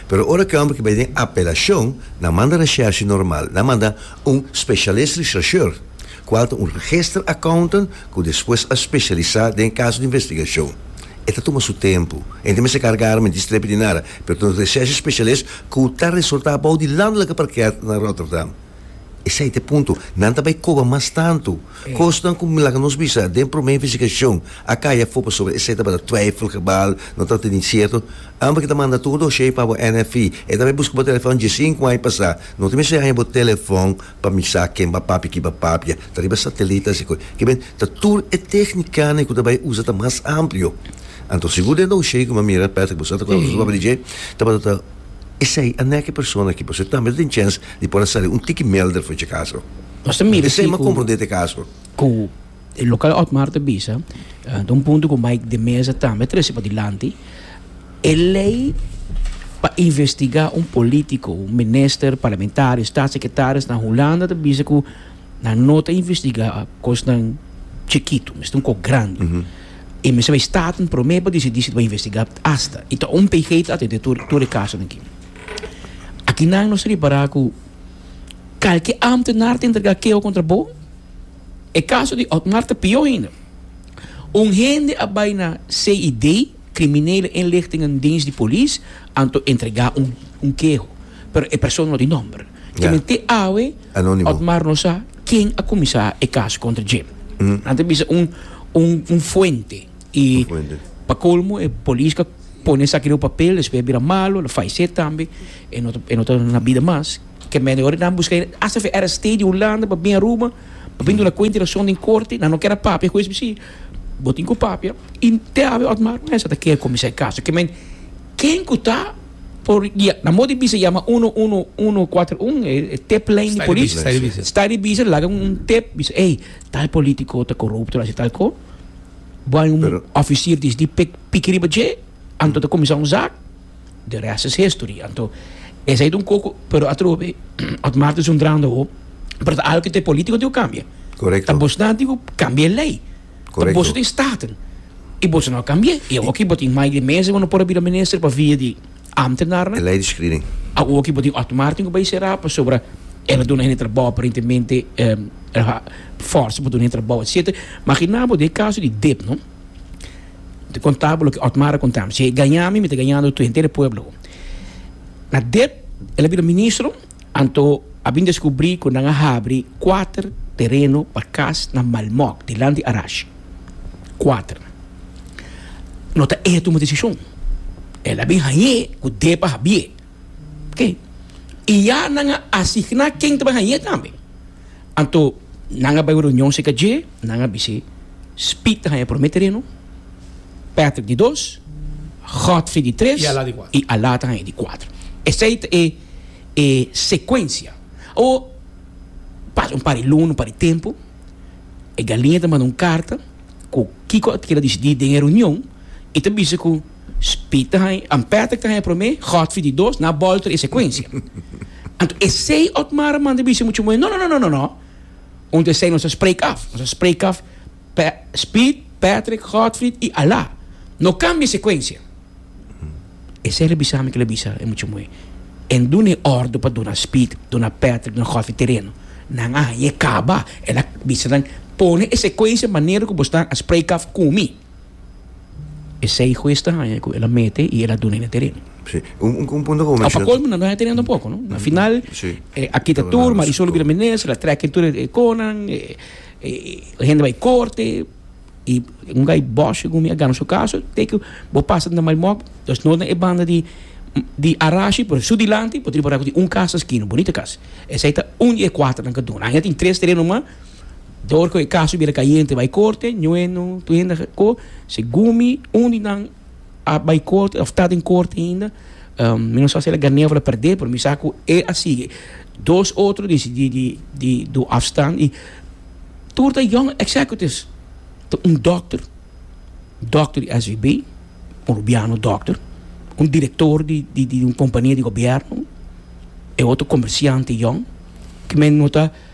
Pero ora ku e hòmber ki bai den apelashon, nan manda reshèrshi normal, nan manda un specialist rechercheur, kual ta un register accountant ku despues a spesialisá den kaso di investigashon. E ta tuma su tempu. E no ta mester karga arma ni strepi ni nada, pero ta un recherche specialist ku ta resultá bou di landelijke parket na Rotterdam. Esei ta e punto. Nan ta bai koba mas tantu. Kosnan ku laga nos bisa den promé investigashon a kai afó pasobra esei tabata twijfelgebal, no tabata ni sierto. Amber ki ta manda tur doshé pa bo NFI. E ta bai buska bo telefòn diesinku aña pasá. No ta mester haña bo telefòn pa mi sa ken ba papia, ki ba papia. Ta riba satelit así ku. Ke men ta tur e téknikanan ku ta bai usa ta mas amplio. Anto sigur den doshé ku mi a mira, Patrick, bo sa ta kòrda bo papia di dje, tabata ta esei a nèk e persona aki pasobra tambe ta tin chèns di por a sali un tiki melder for dje kaso. Nos ta mira Esei si mi a ku komprondé te kaso. ku e lokal Otmar ta bisa, ta un punto ku Mike de Meza tambe a trese padilanti, e lei pa investigá un polítiko, un minister, parlamentario, staatssecretaris na Hulanda ta bisa ku nan no ta investigá kosnan chikitu, mester un kos grandi. I mester bai Staten promé pa disidí si ta bai investigá asta. I ta un PG ta atendé tur tur e kasonan aki. Akinan nos ta ripará ku kalke ámtenar ta entregá keho kontra bo. E kaso di Otmar ta pió ainda. Un hende a bai na CID, Criminele Inlichtingendienst di polis, anto entregá un un keho. Pero e persona no tin nòmber. Ja. Te te awe, Anónimo. Otmar no sa ken a kuminsá e kaso kontra dje. Nan ta bisa un un un fuente. I Un fuente. Pa colmo e polis ka pone esaki riba papel despues a bira malo, el a fayece tambe, e no ta e no ta na bida mas. Ke mende ora nan buska hasta fe RST di Hulanda pa bin Aruba pa bin duna cuenta y razon den corte, nan no kier a papia, hues bisa si bo tin cu papia y te awe Otmar Mesa ta kier cuminsa e caso. Ke men ken cu ta por ya na modo di bisa yama uno uno uno cuater un e tip lijn di polis, sta di bisa laga un tip bisa ey tal politico ta corupto haci tal co. Bo hay un officier di di piki riba dje, anto ta cuminsa un zaak, the rest is history. Anto esey ta un coco, pero atrobe Otmar ta zundrando awo, pero ta algo cu ta e politico tin cu cambia. Correcto. Ta bosnan tin cu cambia e ley. Correcto. Ta boso tin staten y boso no a cambia. Y awo aki bo tin Mike de Meza cu no por a bira minister pa via di ambtenarnan. E ley di screening. Awo aki bo tin Otmar tin cu bay cera pasobra el a duna hende trabao aparentemente. Forsa pa duna e trabou etcetera. Magina bo den e kaso di dip no. Mi ta konta bo loke Otmar a konta mi. Si e gaña mi, mi ta gañando tur henter e pueblo. Na dip el a bira ministro, anto a bin deskubrí ku nan a habri kuater tereno pa kas na Malmok, dilanti Arashi. Kuater. No ta e a tuma desishon. El a bin hañ'é ku dip a habié. Oke. I ya nan a asigná ken ta bai hañ'é tambe. Anto nan a bai un reunion serka dje, nan a bis'é, Speed ta haña promé tereno, Patrick di dos, Godfrey di tres i Alá ta haña di kuater. Esei ta e e sekuensia. Awor, pasa un par di luna, un par di tempu, e galiña ta manda un karta ku kiko a keda disidí den e reunion i ta bisa ku Speed ta haña, Patrick ta haña promé, Godfrey di dos, nan a bòlter e sekuensia. Anto esei Otmar a manda bisa mucha muhé, no, no, no, no, no, no. Unto esei nos a spreek af. Nos a spreek af Speed, Patrick, Godfried i Alá. No kambia sekuensia. Esei el a bisa mi ku el a bisa e mucha muhé. En duna e òrdu pa duna Speed, duna Patrick, duna Godfried tereno. Nan a hañ'é kaba. El a bisa nan, pone e sekuensia manera ku bo stan a spreek af ku mi. Esei hues ta haña ku el a mete i el a duna e na tereno. Sí. Un, un, un punto ku bo Pa menshona. kolmo nan no haña tereno tampoco, no? Na final, Sí. a kita Tabata tur, na Marisol su bira minister, a trek tur e konan, e hende bai korte, i un gai Bosch segun mi a gana su kaso, te ku bo pasa na Malmok, dus no na e banda di di Arashi, pero su dilanti bo tin por tin un kas na skina, bunita kas. Esei ta un di e kuaternan ku a duna. Aña tin tres tereno mas. Dor ku e kaso bira kayente bai korte, ñueno tur hende ko, segun mi un di nan a bai korte of ta den korte ainda, mi no sa si el a gané of el a pèrdè, pero mi sa ku e a sigui. Dos otro di di di do afstand i tur ta young executives, ta un dòkter, dòkter di SVB, un rubiano dòkter, un direktor di di di un kompania di gobièrnu, e otro komersiante yòn, ki men no ta.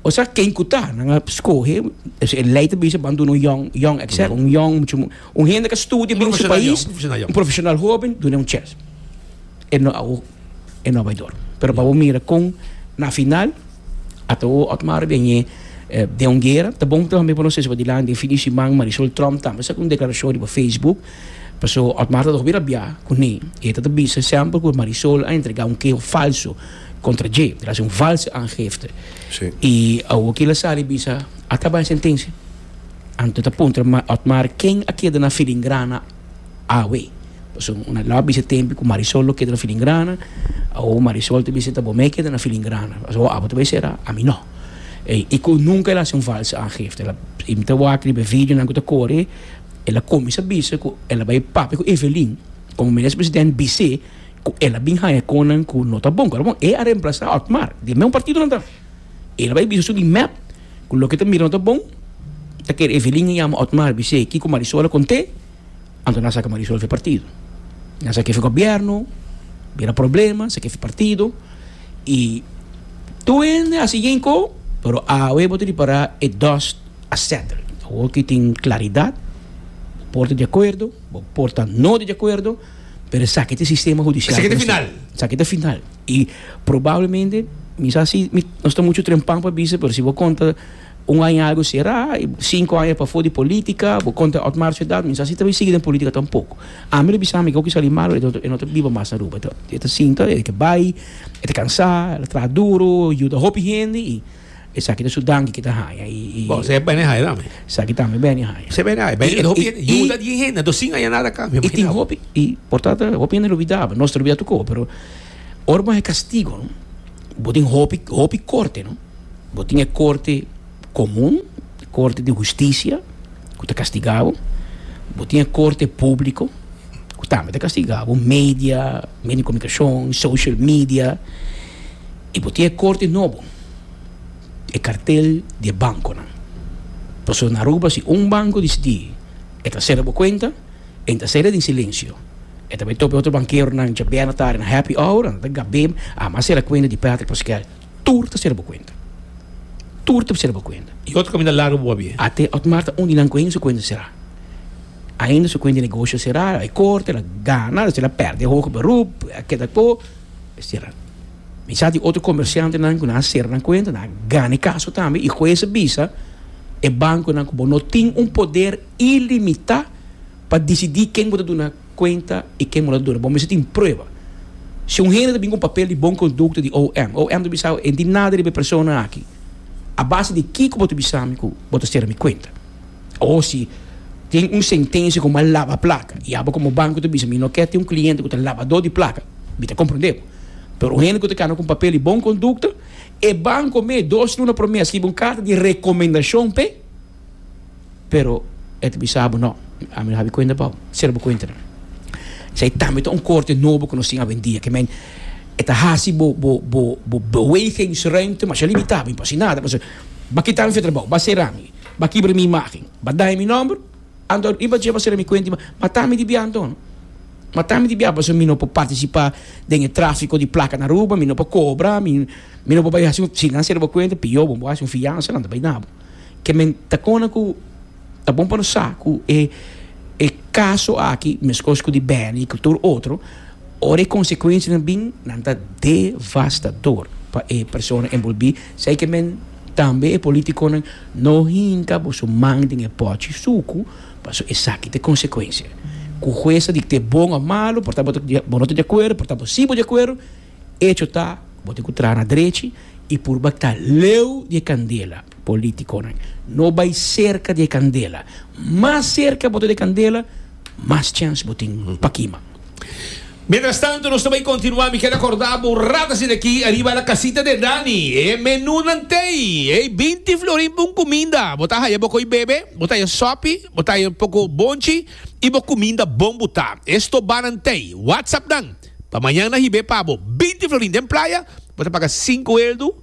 Osea ken ku ta, nan a skohe, e lei ta bisa ban duna un yòn, yòn exec, un yòn muchu, un hende ku a studia bin su pais, un profesional hoben, duna un chèns. E no a e no a bai dor. Pero pa bo mira kon na final ata bo Otmar a biañ'é den un guera. Ta bon tambe pa nos sesi padilanti den fin di siman Marisol Tromp tambe a saka un deklarashon riba Facebook paso Otmar ta hopi rabiá kuné. E ta ta bisa semper ku Marisol a entregá un keho falso. Contra dje, el a haci un valse aangifte. Sí. Y awor ki el a sali bisa, a caba e sentencia. Anto ta puntra Otmar ken a keda na filingrana awe. Pasobra un a bisa tempo cu Marisol lo keda na filingrana, awor Marisol ta bisa ta bo me keda na filingrana. Pasobra abo ta bay cera, ami no. Y cu nunca el a haci un valse aangifte. El a, y mi ta wak riba e videonan cu ta core, el a cuminsa bisa cu el a bay papia cu Evelyn, como minister president bis'é, Ku el a bin haña konan ku no ta bon. Ku bon, e a remplasá Otmar. Di e mesmo partido nan ta. El a bai bisa su di mep ku loke ta mira no ta bon. Ta kere Evelyn a yama Otmar bis'é kiko Marisol a kont'é, anto nan a saka Marisol for e partido. Nan a sak'é for gobièrnu, bira problema, sak'é for partido. I tur hende a hasi yenko, pero awe bo ta ripará e dust a settle. Awor ki tin klaridat, bo por ta di akuerdo, bo por ta no di akuerdo. Pero esaki ta e sistema hudisial. Esaki ta e final. Esaki ta e final. I probablemente, mi sa si mi no sta muchu trempan pa bisa, pero si bo konta un aña algu será, i sinku aña pafó di polítika, bo konta Otmar su edat, mi sa si ta bai sigui den polítika tampoko. Ami lo bisa mi ku sali malo, e no ta biba mas na Aruba. E ta sinta, e ke bai, e ta kansá, el a traha duru, yuda hopi hende i. Esaki ta su danki ki ta haña y. Bo, esei bene haña tambe. Esaki tambe bene haña. Esei bene haña. Bene hopi hende yuda di hende, anto sin haña nada a cambio. Y tin hopi, y por ta hopi hende lubida, nos ta lubida tur cos, pero ora bo haña castigo no, bo tin hopi, hopi corte no. Bo tin e corte comun, corte di husticia cu ta castiga bo, bo tin e corte publico cu tambe ta castiga bo, media, medio di comunicacion, social media, y bo tin e corte nobo. E kartel di e bankonan. Pasobra na Aruba si un banko disidí e ta sera bo kuenta, e ta sera den silensio. E ta bai topa e otro bankeronan djabièrnè tardi na happy hour, nan ta gab'é, ah m'a sera kuenta di Patrick Pascal. Tur ta sera bo kuenta. Tur ta sera bo kuenta. I otro kaminda largu bo a bia. Ate Otmar ta un di nan ku ainda su kuenta será. Ainda su kuenta di negosio será, e korte, el a gana, el a pèrdè hoger beroep, a keda ko, e sera. Mi sa di otro comerciantenan cu nan a cera nan cuenta, nan a gana e caso tambe y huez a bisa e banconan cu bo no tin un poder ilimita pa dicidi ken bo ta duna cuenta y ken bo no ta duna. Bo mester tin prueba. Si un hende ta bin cu un papel di bon conducta di OM, OM ta bisa bo e no tin nada riba e persona aki. A base di kico bo ta bisa mi cu bo ta cera mi cuenta? O si tin un sentencia cu mi a laba placa y abo como banco ta bisa mi no kier tin un cliente cu ta labador di placa, mi ta comprende bo. Pero un hende ku ta kana ku un papel di bon kondukta, e banko me dos luna promé a skibi un karta di rekomendashon p'e, pero e ta bisa bo no, ami no habi kuenta pa bo, sera bo kuentanan. Esei tambe ta un korte nobo ku nos tin awendia, ke men e ta hasi bo bo bo bo bewegingsruimte masha limitá, mi por hasi nada, pasobra bo a kita mi for trabou, bo a sera mi, bo a kibra mi imágen, bo a daña mi nòmber. Anto riba dje bo sera mi kuenta i mata mi di bia anto. Mata mi di bia pasobra mi no por partisipá den e tráfiko di plaka na Aruba, mi no por kobra, mi mi no por bai hasi un, si nan sera bo kuenta pió bo por hasi un fiansa nan ta bai na bo. Ke men ta kona ku ta bon pa nos sa ku e e kaso aki meskos ku di Benny ku tur otro ora e konsekuensianan bin nan ta devastador pa e persona enbolbí, esei ke men Tambe e politiconan no hinca boso man den e pochi sucu, paso esaki ta e consecuencia. Cu huez a dicte bon of malo, por ta bo no ta di acuerdo, por ta bo si bo di acuerdo, hecho ta cu bo tin cu traha na drechi y purba ta leu di e candela. Politiconan, no bay cerca di e candela. Mas cerca bo ta di e candela, mas chance bo tin pa kima. Mientras tanto nos ta bay continua, mi keda corda bo un rato asina aki ariba la casita de Dani, e menunan tey, ey binti florin pa un cuminda, bo ta haya bo coy bebe, bo ta haya sopi, bo ta haya un poco bonchi y bo cuminda bon buta. E stobanan tey, whatsapp nan pa mañan nan hibe pa bo, binti florin den playa, bo ta paga cinco eldo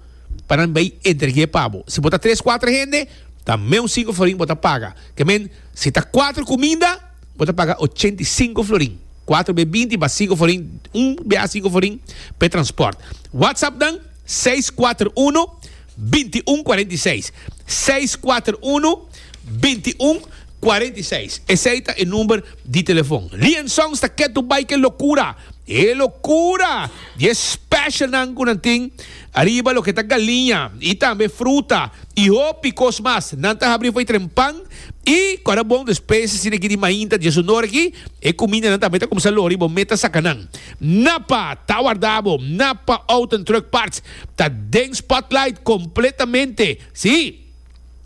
pa nan bay entregue pa bo, si bo ta tres cuatro hende ta meun cinco florin bo ta paga, ke men si ta cuatro cuminda. Bo ta paga 85 florin. 4 be 20 ba 5 florin, un bia 5 florin pe transport. WhatsApp dan 641 2146. 641 2146. Esei ta e number di telefon. Lian Songs ta ketu bai ke lokura. E lokura di e specialnan ku nan tin ariba loke ta galiña i tambe fruta i hopi kos mas. Nan ta habri for e trempan. I ku ora bon despues asina aki di mainta diesunora aki, e kumindanan tambe ta kumsa lori bo meta saka nan. Napa ta warda bo, Napa Auto and Truck Parts ta den spotlight kompletamente. Sí,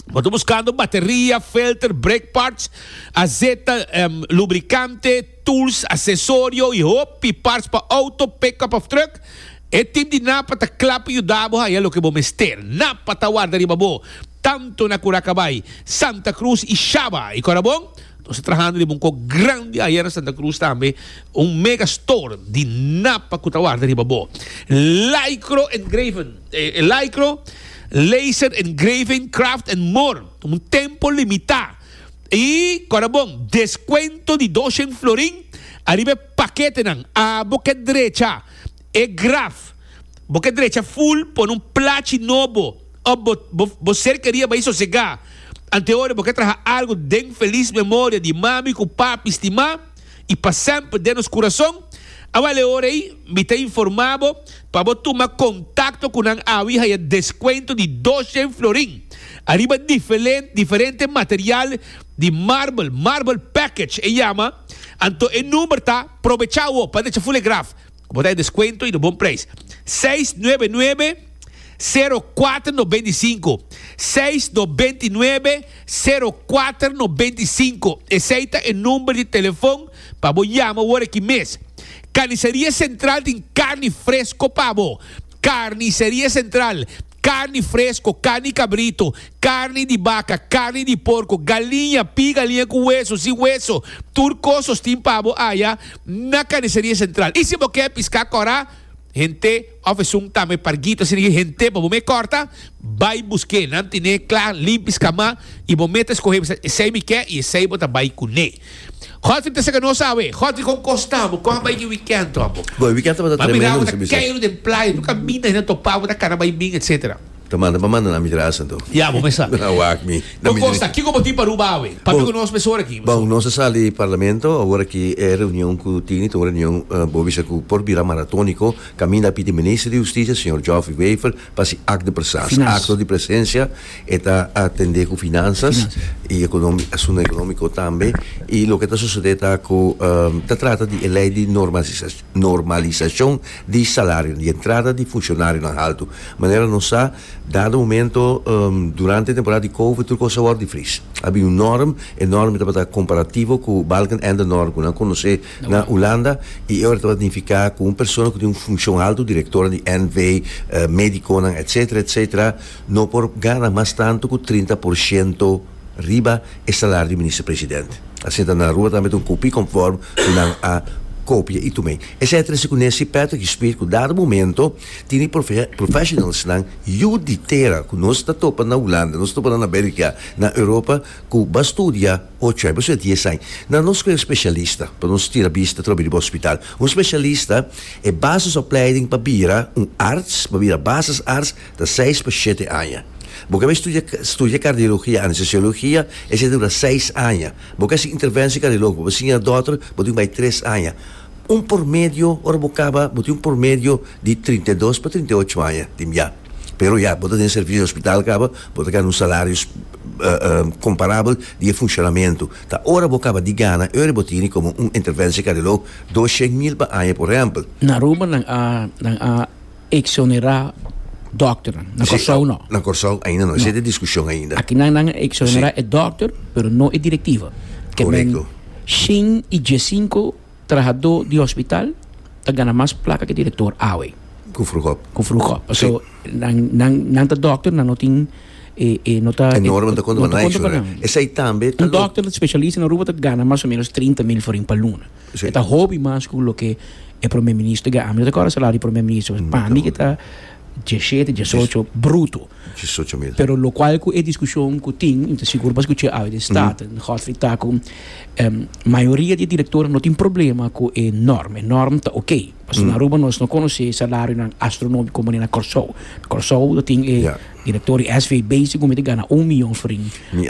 bo ta buskando bateria, filter, brake parts, azeta, lubrikante, tools, asesorio i hopi parts pa auto, pickup of truck? E team di Napa ta kla pa yuda bo haya loke bo mester. Napa ta warda riba bo, tanto na Curacabay, Santa Cruz i Shaba. I kora bon, nos ta trahando riba un kok grandi aya na Santa Cruz tambe, un mega store di Napa ku ta warda riba bo. Lycro Engraven, Lycro Laser Engraving Craft and More, un tempo limitá. I kora bon, deskuento di doshen florin ariba e paketenan. Abo ke drecha e graf, bo ke drecha ful pone un plachi nobo òf bo bo bo ser kerí a bai sosegá. Anteora bo ke traha algu den felis memoria di mami ku papi stimá i pa semper den nos kurason. Awel e ora ei mi ta informá bo pa bo tuma kontakto ku nan awe i haya deskuento di doshen florin ariba diferente material di marbel, marble package e yama, anto e number ta, probechá awo pa drecha ful e graf ku bo ta haya deskuento i na bon preis, seis nuebe nuebe. 04 95. 699 04 95. Esey ta e number di telefon pa bo yama awor aki mes. Carniceria Central tin carni fresco pa bo. Carniceria Central, carni fresco, carni cabrito, carni di baca, carni di porco, galiña, pi galiña cu weso, sin weso, tur cos tin pa bo aya na Carniceria Central. Y si bo kier pisca cora, hende of esun tambe parguito asina ki hende pa bo me corta, bay busque. Nan tine cla, limpi, scama y bo mes ta escoge bisa esey mi kier y esey bo ta bay cune. Godfrey ta saca nos awe. Godfrey, con cos ta bo? Con a bay ki weekend to abo? Bo, e weekend tabata Ma mira tremendo, bo ta mi sa bisa. keiro den playa, tu caminda hende topa bo ta cana bay bin, etcetera. Ta manda pa manda na mi tras anto. Ya, bo mesa. Na wak mi. Na Con mi cos ta? Kico bo tin pa Aruba awe? Papia Bon, cu nos mesora aki. bon, nos a sali parlamento, awor aki e reunion cu tini ta un reunion, bo bisa cu por bira maratonico, caminda a pidi minister di Husticia, señor Geoffrey Wever, pa haci act de presence. Finans. Acto di presencia, e ta atende cu finanzas Finanzas. y economi, asunto economico tambe. Y loke ta sucede ta cu ta trata di e ley di normalisa, normalisacion di salario, di entrada di funcionarionan halto. Manera nos sa, dado momento durante e temporada di Covid tur cos a word di vries. A bin un norm, e norm tabata comparativo cu Balkenende norm cu nan conoce na Hulanda y e ora tabata nifica cu un persona cu tin un funcion halto, directornan di NV, mediconan etcetera etcetera, no por gana mas tanto cu 30% riba e salario di minister president. Asina ta na Aruba tambe ta un copie conform cu nan a copia y tum'e. Esey a trece cu Nancy Patrick y Speed cu dado momento tin e professionalsnan yu di tera cu nos ta topa na Hulanda, nos ta topa na America, na Europa cu ba studia ocho aña, ba studia dies aña. Nan no scoge specialista pa nos tira bista trobe riba hospital. Un specialista e basisopleiding pa bira un arts, pa bira basisarts ta seis pa shete aña. Bo ke bai studia studia cardiologia, anestesiologia, esei ta dura seis aña. Bo ke hasi interventie cardiologico, bo siña dòter, bo tin ku bai tres aña. Un pormedio, ora bo kaba, bo tin un pormedio di 32 pa 38 aña tin bia. Pero ya, bo ta den servicio di hospital kaba, bo ta gana un salario comparabel di e funcionamento. Ta ora bo kaba di gana, e ora bo tini como un interventie cardiologo 200.000 pa aña, por ehempel. Na Aruba nan a nan a exonerá dòkternan. Na Kòrsou no. Na Kòrsou ainda no. Esei ta e diskushon ainda. Aki nan nan a exonerá e dòkter, pero no e direktiva. Ke men Korekto. 115 trahadó di hospital ta gana mas plaka ke direktor awe. Ku Vroegop. Ku Vroegop. Paso nan nan nan ta dòkter, nan no tin e e no ta E norma ta konta no pa ta nan konta pa exonerá. nan. Esei tambe ta Un lo. dòkter spesialista na Aruba ta gana mas o ménos 30.000 florin pa luna. Sí. E ta hopi mas ku loke e prome minister ga. Ami no ta kòrda salario di prome minister, pa mi ke ta 17, 18 bruto. 18.000. Pero lokual ku e diskushon ku tin, mi ta sigur pa skuch'é awe den Staten, Godfrey ta ku mayoria di e direktornan no tin problema ku e norm. E norm ta oké. Pasobra na Aruba nos no konosé salarionan astronómiko manera na Kòrsou. Na Kòrsou ta tin e direktor di SVB segun mi ta gana un miyon florin. Mi.